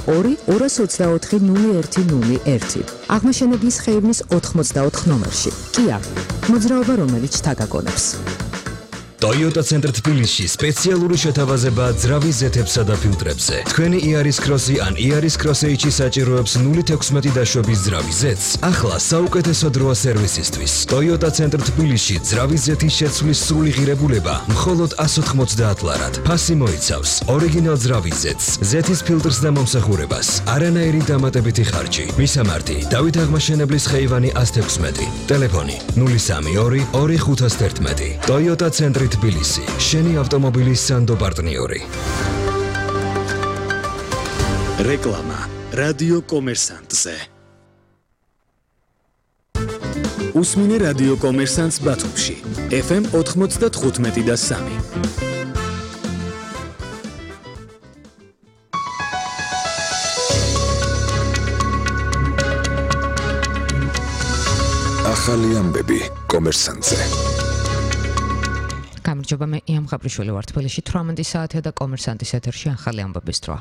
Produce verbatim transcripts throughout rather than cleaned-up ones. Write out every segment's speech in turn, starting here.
ორი ორას ოცდაოთხი ნული ერთი ნული ერთი. აღმაშენებლის ხეივნის ოთხმოცდაოთხ ნომერში. Kia, მოძრაობა რომელიც თაგაგონებს. Toyota Center თბილისში სპეციალური შეთავაზება ძრავის ზეთებსა და ფილტრებზე. Თქვენი Yaris Cross-ი ან Yaris Cross-H-ი საჭიროებს ნული თექვსმეტი დაშვების ძრავის ზეთს. ახლა საუკეთესო დროა სერვისისთვის. Toyota Center თბილისში ძრავის ზეთის შეცვლის სრული ღირებულება მხოლოდ εκατს ოთხმოცდაათ ლარად. ფასი მოიცავს ორიგინალ ძრავის ზეთს, ზეთის ფილტრს და მომსახურებას, არანაირი დამატებითი ხარჯი. მისამართი: დავით აღმაშენებლის ხეივანი εκას თექვსმეტი. ტელეფონი ნული სამი ორი ორი ხუთას თერთმეტი. Toyota Center თბილისი, შენი ავტომობილის სანდო პარტნიორი. რეკლამა რადიო კომერსანტზე. უსმინე რადიო კომერსანტს ბათუმში, ეფ ემ ოთხმოცდათხუთმეტი და სამი. ახალი ამბები კომერსანტზე. გამარჯობა, მე იამ ხაბრიშვილი ვარ. თბილისში თვრამეტი საათია და კომერსანტის ეთერში ახალი ამბების დროა.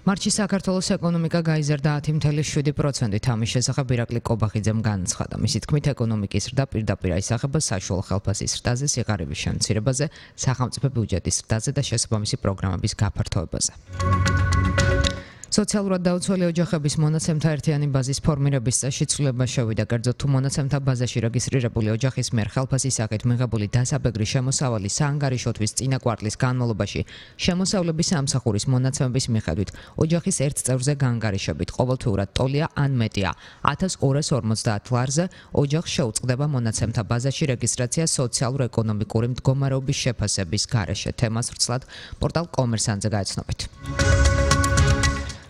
მარტში საქართველოს ეკონომიკა გაიზარდა ათი მცდე შვიდი პროცენტით. ამის შესახებ ირაკლი კობახიძემ განაცხადა. მისი თქმით, ეკონომიკის ზრდა პირდაპირ აისახება საშუალო ხელფასის ზრდაზე, სიღარიბის შემცირებაზე, სახელმწიფო ბიუჯეტის ზრდაზე და შესაბამისი პროგრამების გაფართოებაზე. სოციალურად დაუცველი ოჯახების მონაცემთა ერთიანი ბაზის ფორმირების წესში ცვლილება შევიდა. კერძოდ, თუ მონაცემთა ბაზაში რეგისტრირებული ოჯახის მიერ ხელფასის სახით მიღებული დასაბეგრი შემოსავალი საანგარიშოთვის წინა კვარტლის განმავლობაში შემოსავლების სამსახურის მონაცემების მიხედვით ოჯახის ერთ წევრზე გაანგარიშებით ყოველთვიურად ტოლია ან მეტია ათას ორას ორმოცდაათ ლარზე, ოჯახს შეუწყდება მონაცემთა ბაზაში რეგისტრაცია სოციალურ-ეკონომიკური მდგომარეობის შეფასების გარეშე. თემას ვრცლად პორტალ კომერსანტზე გაეცნობით.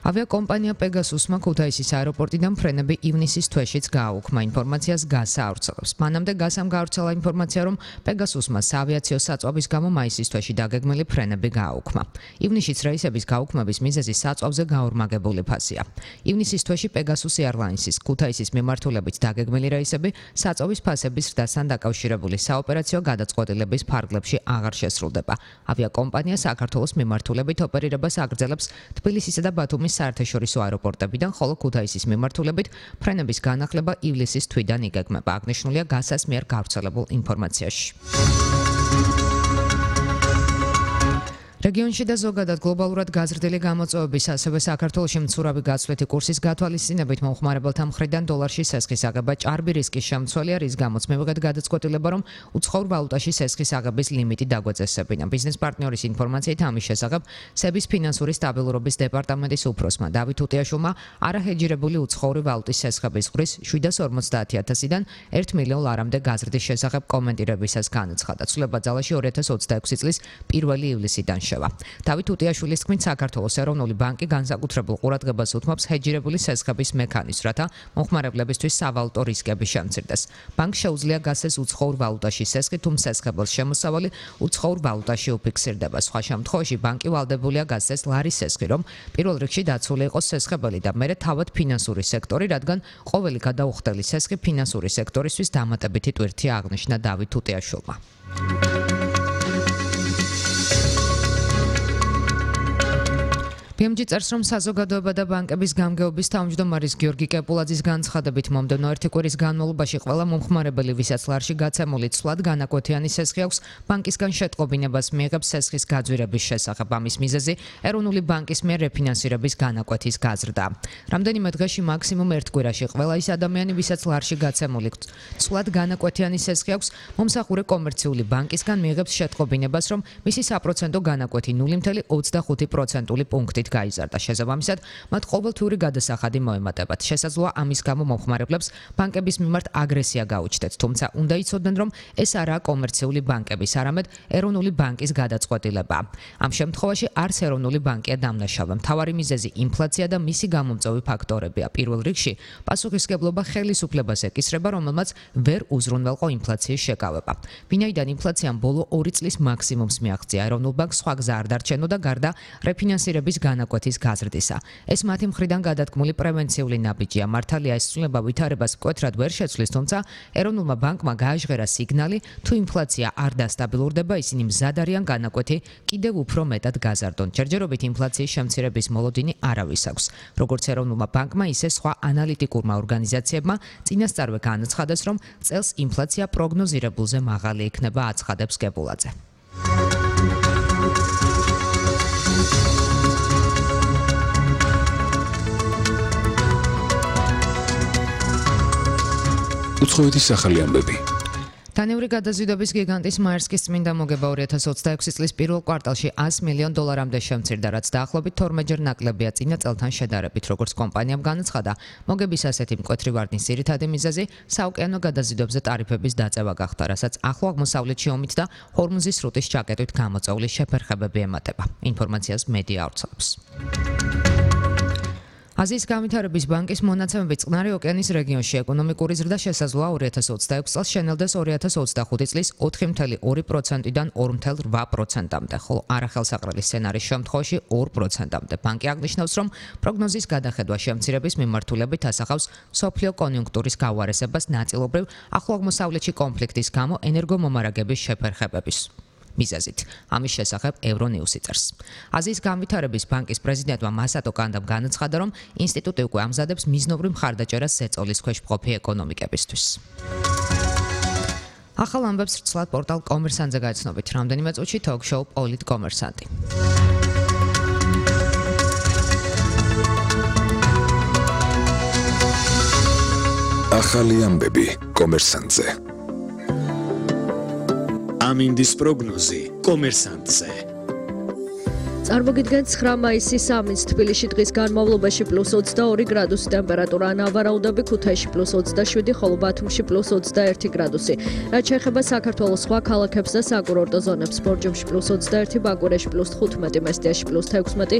ავიაკომპანია პეგასუსმა ქუთაისის აეროპორტიდან ფრენები ივნისის თვეშიც გააუქმა. ინფორმაციას გასა ავრცელებს. მანამდე გასამ გაავრცელა ინფორმაცია, რომ პეგასუსმა საავიაციო საწვავის გამო მაისის თვეში დაგეგმილი ფრენები გააუქმა. ივნისშიც რეისების გაუქმების მიზეზი საწვავზე გაორმაგებული ფასია. ივნისის თვეში პეგასუს ეირლაინსის ქუთაისის მიმართულებით დაგეგმილი რეისები საწვავის ფასების ზრდასთან დაკავშირებული საოპერაციო გადაწყვეტილების ფარგლებში აღარ შესრულდება. ავიაკომპანია საქართველოს მიმართულებით ოპერირებას აგრძელებს თბილისისა და ბათუმის საერთაშორისო აეროპორტებიდან, ხოლო ქუთაისის მიმართულებით ფრენების განახლება ივლისის თვიდან იგეგმება. აღნიშნულია გასას მიერ გავრცელებულ ინფორმაციაში. რეგიონში და ზოგადად გლობალურად გაზრდილი გამოწვევების, ასევე საქართველოში მცურავი გაცვლითი კურსის გათვალისწინებით მომხმარებელთა მხრიდან დოლარში სესხის აღება ჭარბი რისკის შემცველია, რის გამოც მივიღეთ გადაწყვეტილება, რომ უცხოურ ვალუტაში სესხის აღების ლიმიტი დაგვეწესებინა. ბიზნეს პარტნიორის ინფორმაციით ამის შესახებ სების ფინანსური სტაბილურობის დეპარტამენტის უფროსმა დავით უტიაშვილმა არაჰეჯირებული უცხოური ვალუტის სესხების ზღვრის შვიდას ორმოცდაათი ათასიდან ერთ მილიონ ლარამდე გაზრდის შესახებ კომენტირებისას განაცხადა. ცვლილება ძალაში ორი ათას ოცდაექვსი წლის პირველი ივლისიდან დავით უტიაშვილის თქმით, საქართველოს ეროვნული ბანკი განსაკუთრებულ ყურადღებას უთმობს ჰეჯირებული სესხების მექანიზმს, რათა მომხმარებლებისთვის სავალუტო რისკები შემცირდეს. ბანკს შეუძლია გასცეს უცხოურ ვალუტაში სესხი, თუ მსესხებელს შემოსავალი უცხოურ ვალუტაში უფიქსირდება. სხვა შემთხვევაში ბანკი ვალდებულია გასცეს ლარის სესხი, რომ პირველ რიგში დაცული იყოს სესხებელი და მერე თავად ფინანსური სექტორი, რადგან ყოველი გადაუხდელი სესხი ფინანსური სექტორისთვის დამატებითი ტვირთია, აღნიშნა დავით უტიაშვილმა. პი ემ ჯი წერს, რომ საზოგადოება და ბანკების გამგეობის თავმჯდომარის გიორგი კეპულაძის განცხადებით მომდევნო ერთი კვირის განმავლობაში ყველა მომხმარებელი, ვისაც ლარში გაცემული ცვლად განაკვეთიანი სესხი აქვს, ბანკისგან შეტყობინებას მიიღებს სესხის გაძვირების შესახებ. ამის მიზეზი ეროვნული ბანკის მიერ რეფინანსირების განაკვეთის გაზრდა. რამდენიმე დღეში მაქსიმუმ ერთ კვირაში ყველა ის ადამიანი, ვისაც ლარში გაცემული ცვლად განაკვეთიანი სესხი აქვს, მომსახურე კომერციული ბანკისგან მიიღებს შეტყობინებას, რომ მისი საპროცენტო განაკვეთი ნული მცდე ოცდახუთი პროცენტული პუნქტით გაიზარდა. შესაბამისად, მათ ყოველთვიური გადასახადი მოემატებათ. შესაძლოა ამის გამო მომხმარებლებს ბანკების მიმართ აგრესია გაუჩნდეთ, თუმცა უნდა იცოდნენ, რომ ეს არაა კომერციული ბანკების, არამედ ეროვნული ბანკის გადაწყვეტილება. ამ შემთხვევაში არც ეროვნული ბანკია დამნაშავე. მთავარი მიზეზი ინფლაცია და მისი გამომწვევი ფაქტორებია. პირველ რიგში პასუხისმგებლობა ხელისუფლებას ეკისრება, რომელმაც ვერ უზრუნველყო ინფლაციის შეკავება. ვინაიდან ინფლაციამ ბოლო ორი წლის მაქსიმუმს მიაღწია, ეროვნულ ბანკს სხვა გზა არ დარჩენოდა გარდა რეფინანსირების განაკვეთის გაზრდისა. ეს მათი მხრიდან გადადგმული პრევენციული ნაბიჯია. მართალია ეს ცვლილება ვითარებას მკვეთრად ვერ შეცვლის, თუმცა ეროვნულმა ბანკმა გააჟღერა სიგნალი, თუ ინფლაცია არ დასტაბილურდება, ისინი მზად არიან განაკვეთი კიდევ უფრო მეტად გაზარდონ. ჯერჯერობით ინფლაციის შემცირების მოლოდინი არავის აქვს. როგორც ეროვნულმა ბანკმა, ისე სხვა ანალიტიკურმა ორგანიზაციებმა წინასწარვე განაცხადეს, რომ წელს ინფლაცია პროგნოზირებულზე მაღალი იქნება, აცხადებს გებულაძე. უცხოეთის ახალი ამბები. დანიური გადაზიდვების გიგანტის მაერსკის წმინდა მოგება ორი ათას ოცდაექვსი წლის პირველ კვარტალში ას მილიონ დოლარამდე შემცირდა, რაც დაახლოებით თორმეტჯერ ნაკლებია წინა წელთან შედარებით, როგორც კომპანიამ განაცხადა. მოგების ასეთი მკვეთრი ვარდნის ძირითადი მიზეზი საოკეანო გადაზიდვებზე ტარიფების დაწევა გახდა, რასაც ახლო აღმოსავლეთში ომით და ჰორმუზის სრუტის ჩაკეტვით გამოწვეული შეფერხებები ემატება. ინფორმაციას მედია ავრცელებს. აზიის განვითარების ბანკის მონაცემებით წყნარი ოკეანის რეგიონში ეკონომიკური ზრდა შესაძლოა ორი ათას ოცდაექვსი წელს შენელდეს ორი ათას ოცდახუთი წლის ოთხი ფاصლე ორი პროცენტიდან ორი ფاصლე რვა პროცენტამდე, ხოლო არახელსაყრელი სცენარის შემთხვევაში ორი პროცენტამდე. ბანკი აღნიშნავს, რომ პროგნოზის გადახედვა შემცირების მიმართულებით ასახავს მსოფლიო კონიუნქტურის გავარესებას ნაწილობრივ ახლო აღმოსავლეთში კონფლიქტის გამო ენერგომომარაგების შეფერხებების მიზეზით. ამის შესახებ ევრონიუსი წერს. აზიის განვითარების ბანკის პრეზიდენტმა მასატო კანდამ განაცხადა, რომ ინსტიტუტი უკვე ამზადებს მიზნობრივ მხარდაჭერას ზეწოლის ქვეშ მყოფი ეკონომიკებისთვის. ახალ ამბებს რცლად პორტალ კომერსანტზე გაიცნობით. რამდენიმე წუთში თოქ-შოუ პოლიტ კომერსანტი. ახალი ამბები კომერსანტზე. ამინდის პროგნოზი კომერსანტზე. წარმოგიდგენთ ცხრა მაისის ამინდს თბილისში დღის განმავლობაში პლუს ოცდაორი გრადუსი ტემპერატურა, ნავარაუდები ქუთაისში პლუს ოცდაშვიდი, ხოლო ბათუმში პლუს ოცდაერთი გრადუსი. რაც შეეხება საქართველოს სხვა ქალაქებს და საკურორტო ზონებს, ბორჯომში პლუს ოცდაერთი, ბაკურეში პლუს თხუთმეტი, მესტიაში პლუს თექვსმეტი,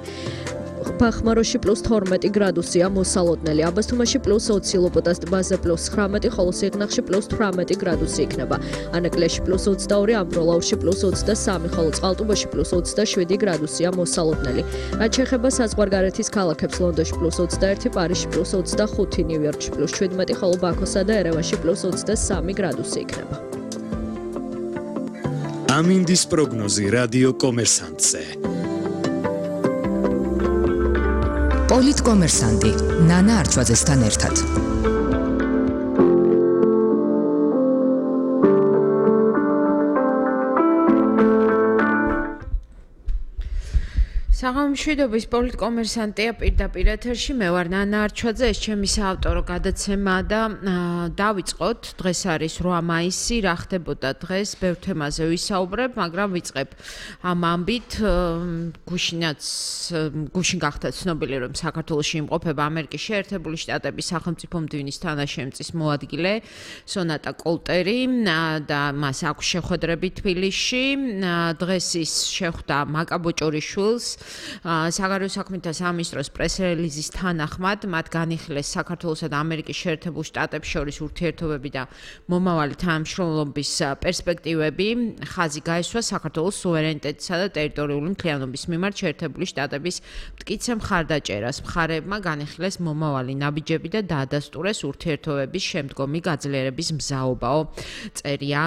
ბახმაროში პლუს თორმეტი გრადუსია მოსალოდნელი, აბასთუმანში პლუს ოცი, ლოპოტას ტბაზე პლუს ცხრამეტი, ხოლო სიღნაღში პლუს თვრამეტი გრადუსი იქნება. ანაკლიაში პლუს ოცდაორი, ამბროლაურში პლუს ოცდასამი, ხოლო წყალტუბოში პლუს ოცდაშვიდი გრადუსია მოსალოდნელი. რაც შეეხება საზღვარგარეთის ქალაქებს, ლონდონში პლუს ოცდაერთი, პარიზში პლუს ოცდახუთი, ნიუ-იორკში პლუს შვიდმეტი, ხოლო ბაქოსა და ერევანში პლუს ოცდასამი გრადუსი იქნება. ამინდის პროგნოზი რადიო კომერსანტზე. პოლიტ კომერსანტი ნანა არჩვაძესთან ერთად. საღამომშვიდობის პოლიტ კომერსანტია პირდაპირ ეთერში, მე ვარ ნანა არჩვაძე, ეს ჩემი საავტორო გადაცემა და დავიწყოთ. დღეს არის რვა მაისი, რა ხდებოდა დღეს, ბევრ თემაზე ვისაუბრებ, მაგრამ ვიწყებ ამ ამბით. გუშინაც გუშინ გახდა ცნობილი, რომ საქართველოში იმყოფება ამერიკის შეერთებული შტატების სახელმწიფო მდივნის თანაშემწის მოადგილე სონატა კოლტერი და მას აქვს შეხვედრები თბილისში. დღეს ის შეხვდა მაკა ბოჭორიშვილს, საგარეო საქმეთა სამინისტროს პრეს-რელიზის თანახმად, მათ განიხილეს საქართველოსა და ამერიკის შეერთებულ შტატებს შორის ურთიერთობები და მომავალი თანამშრომლობის პერსპექტივები. ხაზი გაესვა საქართველოს სუვერენიტეტისა და ტერიტორიული მთლიანობის მიმართ შეერთებული შტატების მტკიცე მხარდაჭერას. მხარეებმა განიხილეს მომავალი ნაბიჯები და დაადასტურეს ურთიერთობების შემდგომი გაძლიერების მზაობაო, წერია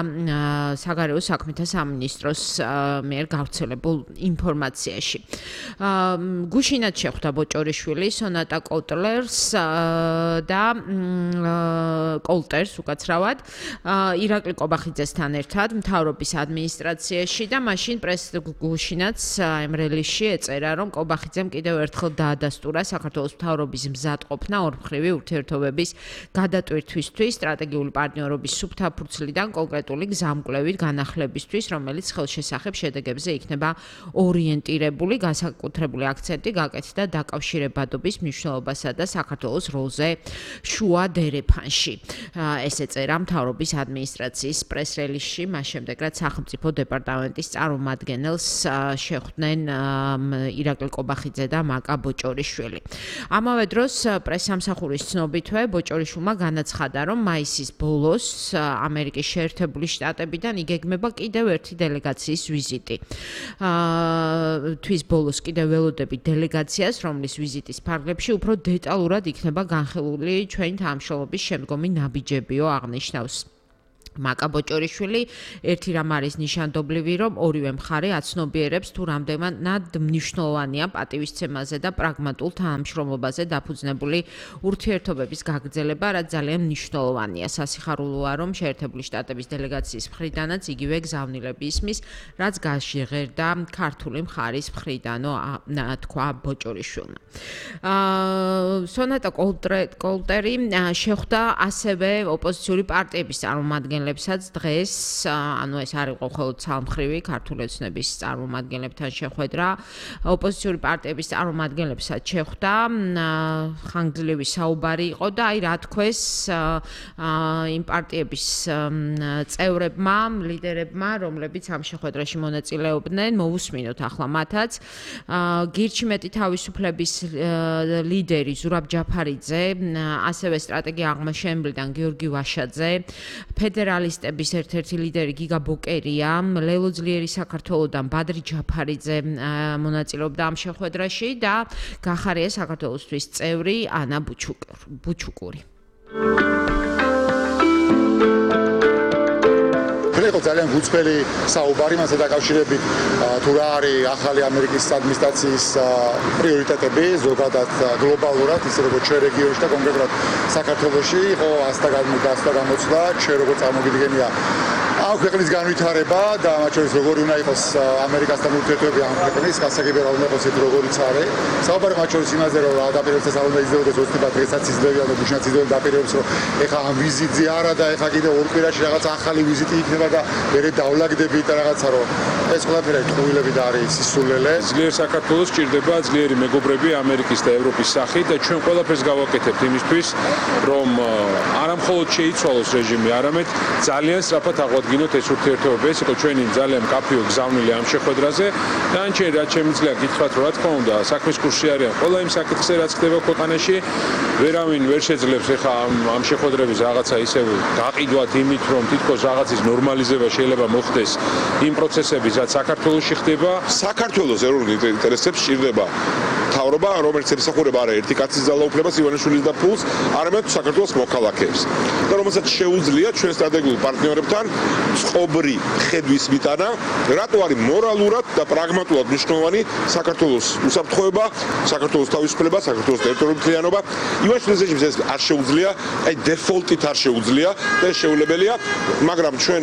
საგარეო საქმეთა სამინისტროს მიერ გავრცელებულ ინფორმაციაში. გუშინად შეხვდა ბოჭორიშვილი სონატა კოლტერს და კოლტერს უკაცრავად ირაკლი კობახიძესთან ერთად მთავრობის ადმინისტრაციაში და მაშინ პრეს გუშინაც ემრელიში ეწერა, რომ კობახიძემ კიდევ ერთხელ დაადასტურა საქართველოს მთავრობის მზადყოფნა ორმხრივი ურთიერთობების გადატვირთვისთვის, სტრატეგიული პარტნიორობის სუფთაფურცლიდან კონკრეტული გზამკვლევით განახლებისთვის, რომელიც ხელშესახებ შედეგებზე იქნება ორიენტირებული. განსაკუთრებული აქცენტი გაკეთდა დაკავშირებადობის მნიშვნელობასა და საქართველოს როლზე შუა დერეფანში. ეს ეწერა მთავრობის ადმინისტრაციის პრეს-რელიზში, მას შემდეგ რაც სახელმწიფო დეპარტამენტის წარმომადგენელს შეხვდნენ ირაკლი კობახიძე და მაკა ბოჭორიშვილი. ამავე დროს პრესსამსახურის ცნობითვე ბოჭორიშვილმა განაცხადა, რომ მაისის ბოლოს ამერიკის შეერთებული შტატებიდან იგეგმება კიდევ ერთი დელეგაციის ვიზიტი. თვის ბოლოს საქართველოს კიდევ ველოდებით დელეგაციას, რომლის ვიზიტის ფარგლებში უფრო დეტალურად იქნება განხილული ჩვენი თანამშრომლობის შემდგომი ნაბიჯებიო აღნიშნავს მაკა ბოჭორიშვილი. ერთი რამ არის ნიშანდობლივი, რომ ორივე მხარე აცნობიერებს თუ რამდენად მნიშვნელოვანია პატივისცემაზე და პრაგმატულ თანამშრომლობაზე დაფუძნებული ურთიერთობების გაგრძელება, რაც ძალიან მნიშვნელოვანია. სასიხარულოა, რომ შეერთებული შტატების დელეგაციის მხრიდანაც იგივე გზავნილები ისმის, რაც გაჟღერდა ქართული მხარის მხრიდანო თქვა ბოჭორიშვილმა. სონატა კოლტერი შეხვდა ასევე ოპოზიციური პარტიების წარმომადგენლებსაც დღეს, ანუ ეს არ იყო მხოლოდ ცალმხრივი ქართული ოცნების წარმომადგენლებთან შეხვედრა, ოპოზიციური პარტიების წარმომადგენლებსაც შეხვდა, ხანგრძლივი საუბარი იყო და აი რა თქვეს იმ პარტიების წევრებმა, ლიდერებმა, რომლებიც ამ შეხვედრაში მონაწილეობდნენ, მოვუსმინოთ ახლა მათაც. გირჩი მეტი თავისუფლების ლიდერი ზურაბ ჯაფარიძე, ასევე სტრატეგია აღმაშენებლიდან გიორგი ვაშაძე, ფედერალისტების ერთ-ერთი ლიდერი გიგა ბოკერია, ლელო ძლიერი საქართველოსდან ბადრი ჯაფარიძე მონაწილეობდა ამ შეხვედრაში და გახარია საქართველოსთვის წევრი ანა ბუჩუკური. იყო ძალიან გუწფელი საუბარი მასთან დაკავშირებით თუ რა არის ახალი ამერიკის ადმინისტრაციის პრიორიტეტები ზოგადად გლობალურად ისე როგორც ჩვენ რეგიონში და კონკრეტულად საქართველოში იყო ასთა გამოცდა ჩვენ როგორც წარმოგიდგენია ამ ქვეყნის განვითარება და მათ შორის როგორი უნდა იყოს ამერიკასთან ურთიერთობები ამ ქვეყნის გასაგებია რა უნდა იყოს ეს როგორიც არის საუბარი მათ შორის იმაზე რომ დაპირებებსაც არ უნდა იზრდებოდეს ოცნება დღესაც იზრდებიან და გუშინაც იზრდებიან დაპირებებს რომ ეხა ამ ვიზიტზე არა და ეხა კიდე ორ კვირაში რაღაც ახალი ვიზიტი იქნება და მერე დავლაგდებით და რაღაცა რომ ეს ყველაფერი ტყუილები და არის სისულელე. ძლიერ საქართველოს ჭირდება ძლიერი მეგობრები ამერიკის და ევროპის სახით და ჩვენ ყველაფერს გავაკეთებთ იმისთვის რომ არა მხოლოდ შეიცვალოს რეჟიმი, არამედ ძალიან სწრაფად აღვადგინოთ ეს ურთიერთობები. ეს იყო ჩვენი ძალიან მკაფიო გზავნილი ამ შეხვედრაზე. დანარჩენი რაც შემიძლია გითხრათ, რომ რა თქმა უნდა, საქმის კურსში არიან ყველა იმ საკითხზე, რაც ხდება ქვეყანაში. ვერავინ ვერ შეძლებს ეხა ამ შეხვედრების რაღაცა ისევ გაყიდვათ იმით, რომ თითქოს რაღაცის ნორმალიზება შეიძლება მოხდეს იმ პროცესების, რაც საქართველოში ხდება. საქართველოს ეროვნულ ინტერესებს ჭირდება მთავრობა, რომელიც ემსახურება არა ერთი კაცის ძალაუფლებას, ივანიშვილის და ფულს, არამედ საქართველოს მოქალაქეებს. და რომელსაც შეუძლია ჩვენ სტრატეგიულ პარტნიორებთან წყობრი ხედვის მიტანა, რატო არის მორალურად და პრაგმატულად მნიშვნელოვანი საქართველოს უსაფრთხოება, საქართველოს თავისუფლება, საქართველოს ტერიტორიული მთლიანობა. ივანიშვილის რეჟიმს ეს არ შეუძლია, აი დეფოლტით არ შეუძლია და ეს შეუძლებელია, მაგრამ ჩვენ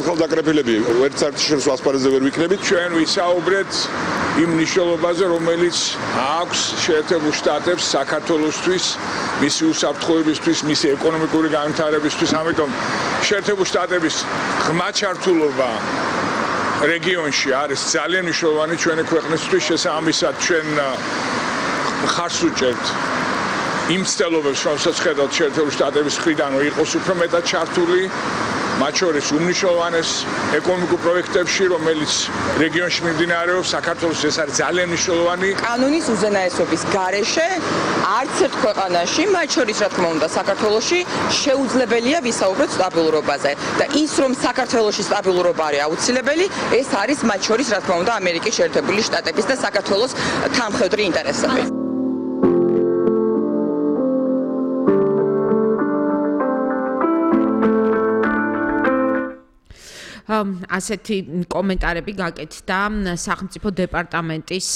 ხელდაკრეფილები ერთ საერთოდ შორს ასპარეზზე ვერ ვიქნებით. ჩვენ ვისაუბრეთ იმ მნიშვნელობაზე, რომელიც აქვს შეერთებულ შტატებს საქართველოსთვის, მისი უსაფრთხოებისთვის, მისი ეკონომიკური განვითარებისთვის. ამიტომ შეერთებულ შტატების ღრმა ჩართულობა რეგიონში არის ძალიან მნიშვნელოვანი ჩვენი ქვეყნისთვის. შესაბამისად ჩვენ ხარს უჭერთ იმ ცდილობებს, რომელსაც ხედავთ შეერთებულ შტატების მხრიდან, რომ იყოს უფრო მეტად ჩართული მათ შორის უმნიშვნელოვანეს ეკონომიკურ პროექტებში, რომელიც რეგიონში მიმდინარეობს, საქართველოს ეს არის ძალიან მნიშვნელოვანი. კანონის უზენაესობის გარეშე არც ერთ ქვეყანაში, მათ შორის რა თქმა უნდა საქართველოში, შეუძლებელია ვისაუბროთ სტაბილურობაზე და ის რომ საქართველოში სტაბილურობა არის აუცილებელი, ეს არის მათ შორის რა თქმა უნდა ამერიკის შეერთებული შტატების და საქართველოს თანამხედვრი ინტერესები. ასეთი კომენტარები გაკეთდა სახელმწიფო დეპარტამენტის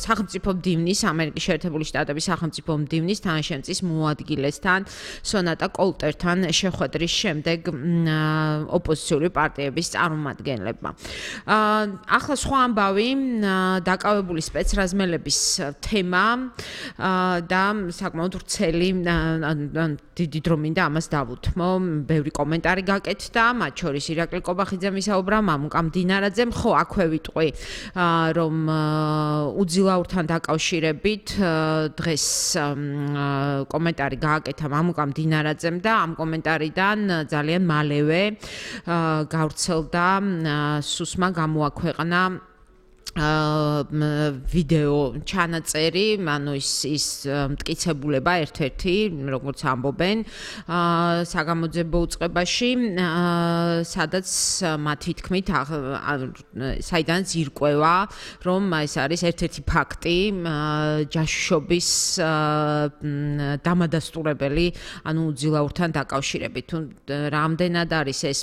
სახელმწიფო მდივნის ამერიკის შეერთებული შტატების სახელმწიფო მდივნის თანაშემწის მოადგილესთან სონატა კოლტერთან შეხვედრის შემდეგ ოპოზიციური პარტიების წარმომადგენლებმა. ახლა სხვა ამბავი დაკავებული სპეცრაზმელების თემა და საკმაოდ ვრცელი დიდი დრო მინდა ამას დავუთმო. ბევრი კომენტარი გაკეთდა, მათ შორის ირაკლი კობახიძე მისაუბრა, მამუკა მდინარაძემ, ხო აქვე ვიტყვი, რომ უძილაურთან დაკავშირებით დღეს კომენტარი გააკეთა მამუკა მდინარაძემ და ამ კომენტარიდან ძალიან მალევე გავრცელდა სუსმა გამოაქვეყნა ვიდეო ჩანაწერი, ანუ ის ის მტკიცებულება ერთ-ერთი, როგორც ამბობენ, საგამოძიებო უწყებაში, სადაც მათი თქმით, საიდანაც ირკვევა, რომ ეს არის ერთ-ერთი ფაქტი ჯაშუშობის დამადასტურებელი, ანუ უძილაურთან დაკავშირებით. თუ რამდენად არის ეს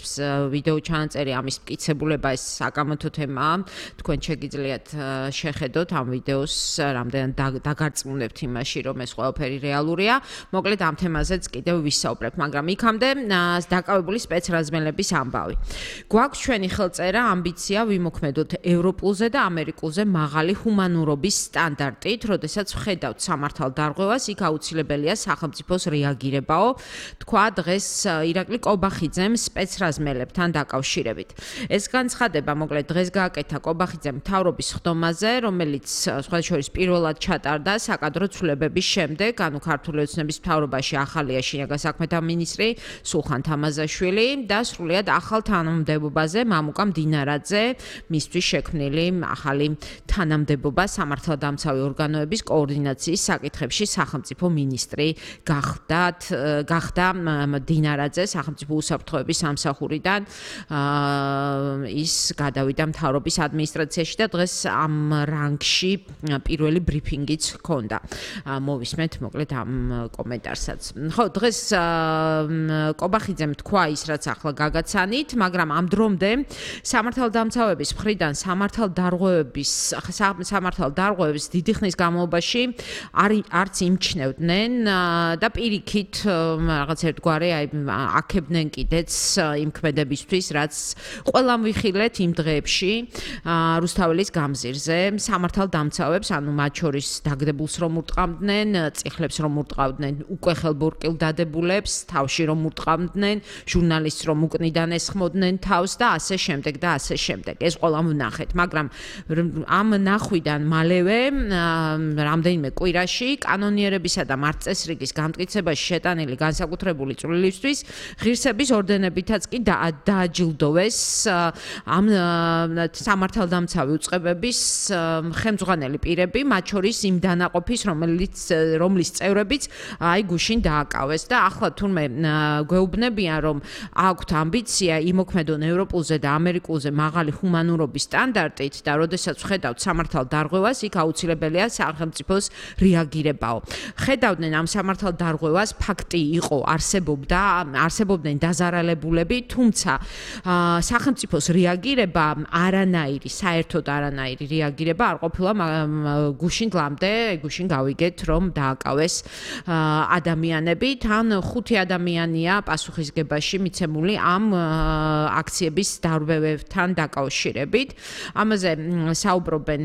ვიდეო ჩანაწერი, ამის მტკიცებულება, ეს საკამათო თემაა, თქვენ შეგიძლიათ შეხედოთ ამ ვიდეოს, რამდენად დაგარწმუნებთ იმაში, რომ ეს ყველაფერი რეალურია. მოკლედ ამ თემაზეც კიდევ ვისაუბრებთ, მაგრამ იქამდე დაკავებული სპეცრაზმელების ამბავი. გვაქვს ჩვენი ხელწერა, ამბიცია ვიმოქმედოთ ევროპულზე და ამერიკულზე მაღალი ჰუმანურობის სტანდარტით, როდესაც ვხედავთ სამართალდარღვევას, იქ აუცილებელია სახელმწიფოს რეაგირებაო, თქვა დღეს ირაკლი კობახიძემ სპეცრაზმელებთან დაკავშირებით. ეს განცხადება მოკლედ დღეს გააკეთა კობახიძემ მთავრობის ხდომაზე, რომელიც სხვა შორის პირველად ჩატარდა საკადრო ცვლილებების შემდეგ, ანუ ქართული ოცნების მთავრობაში ახალია შინაგან საქმეთა მინისტრი სულხან თამაზაშვილი და სრულიად ახალ თანამდებობაზე მამუკა მდინარაძე, მისთვის შექმნილი ახალი თანამდებობა სამართალდამცავი ორგანოების კოორდინაციის საკითხებში სახელმწიფო მინისტრი გახდათ გახდა მდინარაძე სახელმწიფო უსაფრთხოების სამსახურიდან ის გადავიდა მთავრობის ადმინისტრაციაში და დღეს ამ რანგში პირველი ბრიფინგიც ჰქონდა. მოვისმენთ მოკლედ ამ კომენტარსაც. ხო, დღეს კობახიძემ თქვა ის, რაც ახლა გაგაცანით, მაგრამ ამ დრომდე სამართალდამცავების მხრიდან სამართალდარღვევების სამართალდარღვევებს დიდი ხნის განმავლობაში არც იმჩნევდნენ და პირიქით რაღაც ერთგვარი აი აქებდნენ კიდეც იმ ქმედებისთვის, რაც ყველამ ვიხილეთ იმ დღეებში რუსთაველის გამზირზე სამართალდამცავებს, ანუ მათ შორის დაგდებულს რომ ურტყამდნენ, წიხლებს რომ ურტყავდნენ, უკვე ხელბორკილ დადებულებს, თავში რომ ურტყამდნენ, ჟურნალისტს რომ უკნიდან ესხმოდნენ თავს და ასე შემდეგ და ასე შემდეგ. ეს ყველამ ვნახეთ, მაგრამ ამ ნახვიდან მალევე რამდენიმე კვირაში კანონიერებისა და მართლწესრიგის გამტკიცებაში შეტანილი განსაკუთრებული წვლილისთვის ღირსების ორდენებითაც კი დააჯილდოვეს ამ სამართალდამცავი უწყებების ხელმძღვანელი პირები, მათ შორის იმ დანაყოფის, რომელიც რომლის წევრებიც აი გუშინ დააკავეს და ახლა თურმე გვეუბნებიან, რომ აქვთ ამბიცია იმოქმედონ ევროპულზე და ამერიკულზე მაღალი ჰუმანურობის სტანდარტით და როდესაც ვხედავთ სამართალდარღვევას, იქ აუცილებელია სახელმწიფოს რეაგირებაო. ხედავდნენ ამ სამართალდარღვევას, ფაქტი იყო, არსებობდა, არსებობდნენ დაზარალებულები, თუმცა სახელმწიფოს რეაგირება არანაირი, საერთოდ არანაირი რეაგირება არ ყოფილა გუშინ გლამდე, გუშინ გავიგეთ, რომ დააკავეს ადამიანები, თან ხუთი ადამიანია პასუხისგებაში მიცემული ამ აქციების დარღვევებთან დაკავშირებით. ამაზე საუბრობენ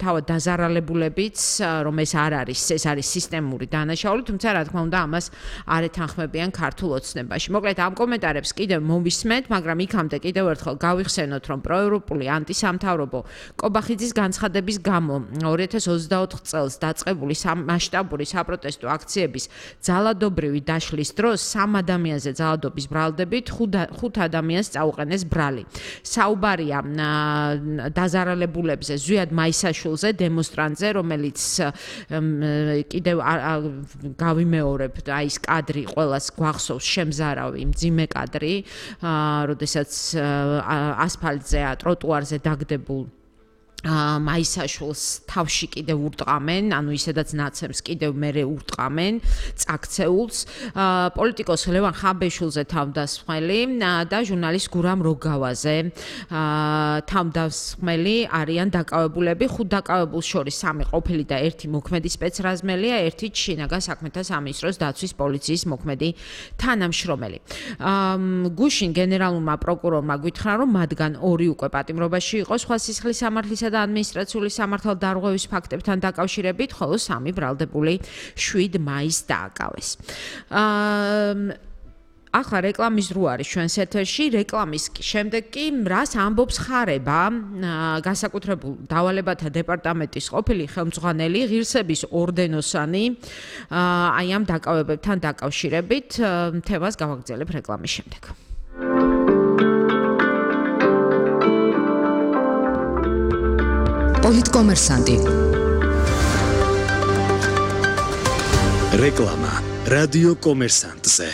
თავად დაზარალებულებიც, რომ ეს არ არის, ეს არის სისტემური დანაშაული, თუმცა რა თქმა უნდა ამას არ ეთანხმებიან ქართულ ოცნებაში. მოკლედ ამ კომენტარებს კიდევ მოვისმენთ, მაგრამ იქამდე კიდევ ერთხელ გავიხსენოთ, რომ პროევროპული ანტისამთავრობო კობახიძის განცხადების გამო ორი ათას ოცდაოთხ წელს დაწყებული მასშტაბური საპროტესტო აქციების ძალადობრივი დაშლის დროს სამ ადამიანზე ძალადობის ბრალდებით ხუთ ადამიანს წაუყენეს ბრალი. საუბარია დაზარალებულებზე ზვიად მაისაშვილზე, დემონსტრანტზე, რომელიც კიდევ გავიმეორებ, აი ეს კადრი ყველას გვახსოვს, შემზარავი, მძიმე კადრი, როდესაც ასფალტზე, ტროტუარზე დაგდებულ მაისაშვილს თავში კიდევ ურტყამენ, ანუ ისედაც ნაცემს კიდევ მერე ურტყამენ, წაქცეულს, პოლიტიკოს ლევან ხაბეშვილზე თავდასხმელი და ჟურნალისტ გურამ როგავაზე თავდასხმელი არიან დაკავებულები, ხუთ დაკავებულს შორის სამი ყოფილი და ერთი მოქმედი სპეცრაზმელია, ერთი შინაგან საქმეთა სამინისტროს დაცვის პოლიციის მოქმედი თანამშრომელი. გუშინ გენერალურმა პროკურორმა გვითხრა, რომ მათგან ორი უკვე პატიმრობაში იყო სხვა სისხლის სამართლისა და ადმინისტრაციული სამართალდარღვევის ფაქტებთან დაკავშირებით, ხოლო სამი ბრალდებული შვიდ მაისს დააკავეს. ახლა რეკლამის დრო არის ჩვენს ეთერში, რეკლამის შემდეგ კი რას ამბობს ხარება განსაკუთრებულ დავალებათა დეპარტამენტის ყოფილი ხელმძღვანელი ღირსების ორდენოსანი აი ამ დაკავებებთან დაკავშირებით, თემას გავაგრძელებ რეკლამის შემდეგ. პოლიტკომერსანტი. რეკლამა რადიო კომერსანტზე.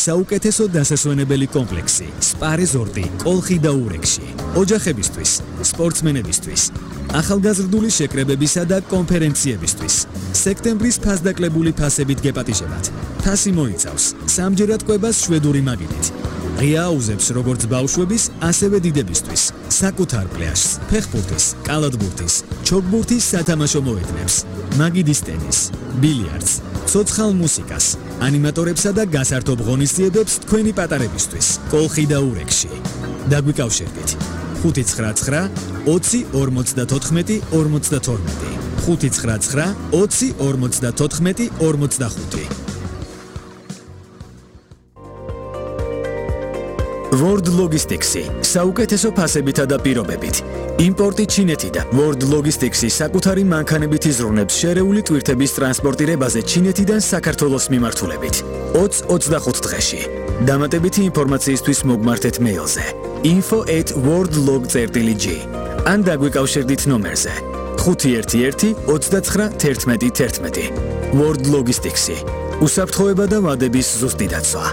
საუკეთესო დასასვენებელი კომპლექსი სპა რეზორტი კოლხი და ურეკში. ოჯახებისთვის, სპორტსმენებისთვის, ახალგაზრდული შეკრებებისა და კონფერენციებისთვის. სექტემბრის ფასდაკლებული ფასებით გეპატიჟებათ. ფასი მოიცავს სამჯერად კვებას შვედური მაგიდით. ღია აუზებს როგორც ბავშვების, ასევე დიდებისთვის. საკუთარ პლაჟს, ფეხბურთის, კალათბურთის, ჩოგბურთის სათამაშო მოედნებს, მაგიდის ტენის, ბილიარდს, ცოცხალ მუსიკას, ანიმატორებსა და გასართობ ღონისძიებებს თქვენი პატარებისთვის. კოლხი და ურეკში. დაგვიკავშირდით. ხუთი ცხრა ცხრა ოცი ორმოცდათოთხმეტი ორმოცდათორმეტი ხუთი ცხრა ცხრა ოცი ორმოცდათოთხმეტი ორმოცდახუთი. World Logistics-ი საუკეთესო ფასებითა და პირობებით. იმპორტი ჩინეთიდან. World Logistics-ი საკუთარი მანქანებით იზრუნებს შერეული ტვირთების ტრანსპორტირებაზე ჩინეთიდან საქართველოს მიმართულებით. ოცი ოცდახუთ დღეში. დამატებითი ინფორმაციისთვის მოგმართეთ მეილზე info at worldlog dot l g ან დაგვიკავშირდით ნომერზე ხუთი ერთი ერთი ოცდაცხრა თერთმეტი თერთმეტი. World Logistics-ი უსაფრთხოება და ვადების ზუსტი დაცვა.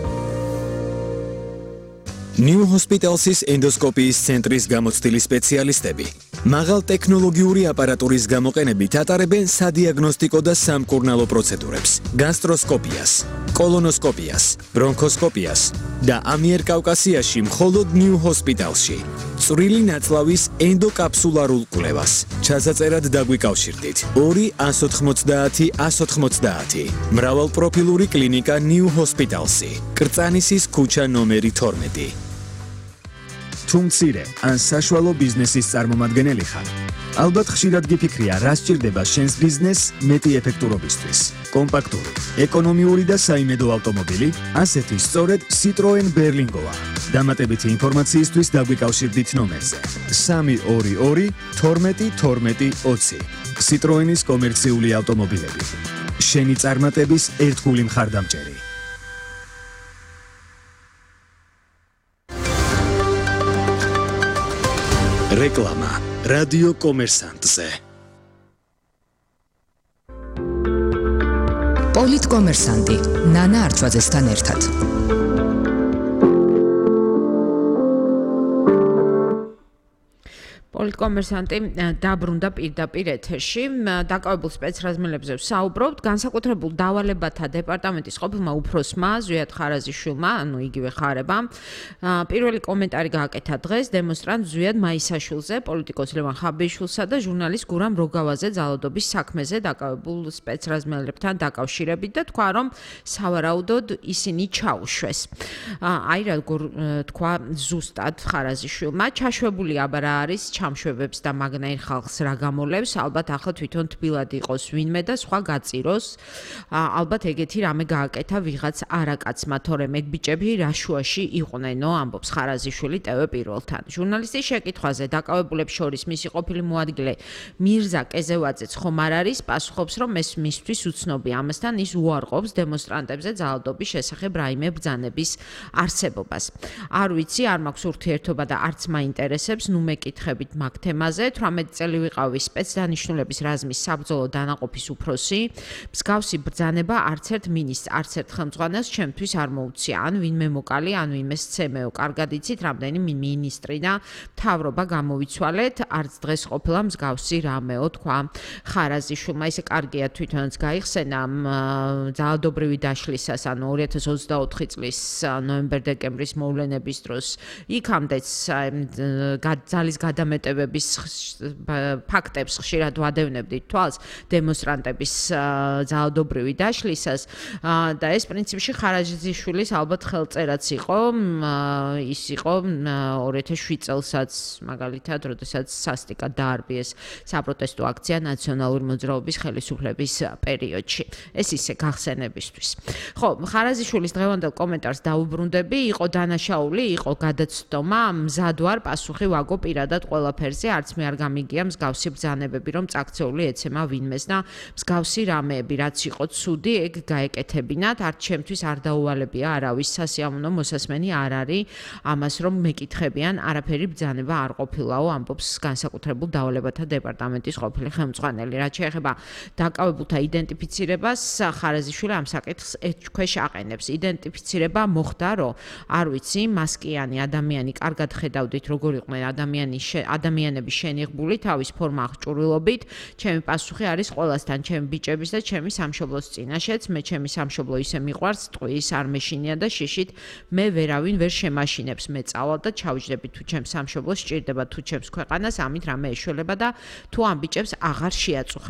New Hospitals-ის ენდოსკოპიის ცენტრის გამოცდილი სპეციალისტები მაღალ ტექნოლოგიური აპარატურის გამოყენებით ატარებენ სადიაგნოსტიკო და სამკურნალო პროცედურებს, გასტროსკოპიას, კოლონოსკოპიას, ბრონქოსკოპიას და ამიერკავკასიაში მხოლოდ New Hospital-ში წვრილი ნაწლავის ენდოკაფსულარულ კვლევას. ჩასაწერად დაგვიკავშირდით ორი ას ოთხმოცდაათი ას ოთხმოცდაათი. მრავალპროფილური კლინიკა New Hospitals-ი, კრწანისის ქუჩა ნომერი თორმეტი. თუ მცირე ან საშუალო ბიზნესის წარმომადგენელი ხარ, ალბათ ხშირად გიფიქრია, რა სჭირდება შენს ბიზნესს მეტი ეფექტურობისთვის. კომპაქტური, ეკონომიური და საიმედო ავტომობილი, ასეთი სწორედ Citroen Berlingo-ა. დამატებითი ინფორმაციისთვის დაგვიკავშირდით ნომერზე სამი ორი ორი თორმეტი თორმეტი ოცი. Citroen-ის კომერციული ავტომობილები. შენი წარმატების ერთგული მხარდამჭერი. რეკლამა რადიო კომერსანტზე. პოლიტკომერსანტი ნანა არჩვაძესთან ერთად. პოლიტკომერსანტი დაბრუნდა პირდაპირ ეთერში. დაკავებულ სპეცრაზმელებზე ვსაუბრობთ. განსაკუთრებულ დავალებათა დეპარტამენტის ყოფილმა უფროსმა ზვიად ხარაზიშვილმა, ანუ იგივე ხარებამ, პირველი კომენტარი გააკეთა დღეს დემონსტრანტ ზვიად მაისაშვილზე, პოლიტიკოს ლევან ხაბეიშვილსა და ჟურნალისტ გურამ როგავაზე ძალადობის საქმეზე დაკავებულ სპეცრაზმელებთან დაკავშირებით და თქვა, რომ სავარაუდოდ ისინი ჩაუშვეს. აი რა თქვა ზუსტად ხარაზიშვილმა, ჩაშვებული აბარა არის ჩამშვებებს და მაგნაირ ხალხს რა გამოლევს, ალბათ ახლა თვითონ თბილად იყოს ვინმე და სხვა გაწიროს. ალბათ ეგეთი რამე გააკეთა ვიღაც არაკაცმა, თორემ ეგ ბიჭები რა შუაში იყვნენო, ამბობს ხარაზიშვილი ტევ პირველთან. ჟურნალისტის შეკითხვაზე დაკავებულებს შორის მისი ყოფილი მოადგილე მირზა კეზევაძეც ხომ არ არის, პასუხობს, რომ ეს მისთვის უცნობია. ამასთან ის უარყოფს დემონსტრანტებზე ძალადობის შესახებ რაიმე ბრძანების არსებობას. არ ვიცი, არ მაქვს ურთიერთობა და არც მაინტერესებს, ნუ მეკითხებით მაგ თემაზე. თვრამეტი წელი ვიყავი სპეცდანიშნულების რაზმის საბრძოლო დანაყოფის უფროსი. მსგავსი ბრძანება არც ერთ მინისტრს, არც ერთ ხელმძღვანელს ჩემთვის არ მოუწია. ან ვინმე მოკალი, ან ვინმე სცემეო. კარგად იცით, რამდენი მინისტრი და მთავრობა გამოვიცვალეთ, არც დღეს ყოფილა მსგავსი რამეო, თქვა ხარაზიშვილმა. ისე კარგია თვითონაც გაიხსენა ძალადობრივი დაშლისას, ანუ ორი ათას ოცდაოთხი წლის ნოემბერ-დეკემბრის მოვლენების დროს იქამდეც ძალის გადამეტებების ფაქტებს ხშირად ვადევნებდით თვალს დემონსტრანტების ძალადობრივი დაშლისას და ეს პრინციპში ხარაზიშვილის ალბათ ხელწერაც იყო. ის იყო ორი ათას შვიდ წელსაც მაგალითად, როდესაც სასტიკად დაარბიეს საპროტესტო აქცია ნაციონალური მოძრაობის ხელისუფლების პერიოდში. ეს ისე გახსენებისთვის. ხო, ხარაზიშვილის დღევანდელ კომენტარს დაუბრუნდები, იყო დანაშაული, იყო გადაცდომა, მზად ვარ პასუხი ვაგო პირადად ყველაფერს ყველაფერზე, არც მე არ გამიგია მსგავსი ბრძანებები, რომ წაქცეული ეცემა ვინმეს და მსგავსი რამეები, რაც იყო ცუდი, ეგ გაეკეთებინათ, არც ჩემთვის არ დაუვალებია არავის სასიამოვნო მოსასმენი არ არის ამას, რომ მეკითხებიან, არაფერი ბრძანება არ ყოფილაო, ამბობს განსაკუთრებულ დავალებათა დეპარტამენტის ყოფილი ხელმძღვანელი. რაც შეეხება დაკავებულთა იდენტიფიცირებას, ხარაზიშვილი ამ საკითხს ეჭქვეშ აყენებს. იდენტიფიცირება მოხდა, რომ არ ვიცი, მასკიანი ადამიანი კარგად ხედავდით, როგორ იყვნენ ადამიანი ადამიანები შენიღბული თავის ფორმა აღჭურვილობით. ჩემი პასუხი არის ყველასთან, ჩემი ბიჭების და ჩემი სამშობლოს წინაშეც. მე ჩემი სამშობლო ისე მიყვარს, ტყვის არ მეშინია და შიშით მე ვერავინ ვერ შემაშინებს. მე წავალ და ჩავჯდები თუ ჩემს სამშობლოს სჭირდება თუ ჩემს ქვეყანას, ამით რამე ეშველება და თუ ამ ბიჭებს აღარ შეაწუხებ.